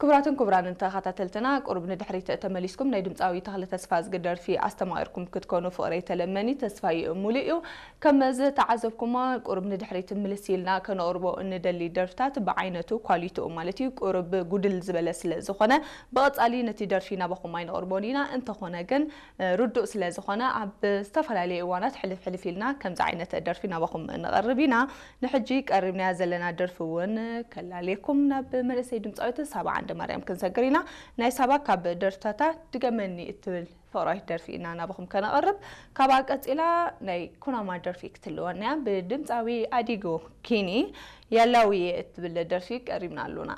ክቡራትን ክቡራንን ተኸታተልትና፣ ቁሩብ ንድሕሪት ተመሊስኩም ናይ ድምፃዊ ተኽለ ተስፋዝጊ ደርፊ ኣስተማቒርኩም ክትኮኑ ፍቕረይ ተለመኒ ተስፋይ ሙሉእ እዩ። ከም ዝተዓዘብኩሞ፣ ቁሩብ ንድሕሪት ምልስ ኢልና ከነቕርቦ እንደሊ ደርፍታት ብዓይነቱ፣ ኳሊቲኡ ማለት እዩ፣ ቁሩብ ጉድል ዝበለ ስለ ዝኾነ፣ ብቐጻሊ ነቲ ደርፊ ናባኹም ኣይነቕርቦን ኢና። እንተኾነ ግን፣ እ፣ ርዱእ ስለ ዝኾነ፣ ኣብ ዝተፈላለዩ እዋናት ሕልፍ ሕልፍ ኢልና ከምዚ ዓይነት ደርፊ ናባኹም ነቕርብ ኢና። ንሕጂ ቀሪብናያ ዘለና ደርፊ እውን ከላልየኩም ናብ መንእሰይ ድምፃዊት ሳባ ዓንደማርያም ክንሰግር ኢና። ናይ ሳባ ካብ ደርፍታታ ድገመኒ እትብል ፍቕራዊት ደርፊ ኢና ናባኹም ከነቕርብ። ካብኣ ቀጺላ ናይ ኩናማ ደርፊ ክትልወና እያ። ብድምፃዊ ኣዲጎ ኪኒ ያላውየ እትብል ደርፊ ቀሪብና ኣሎና።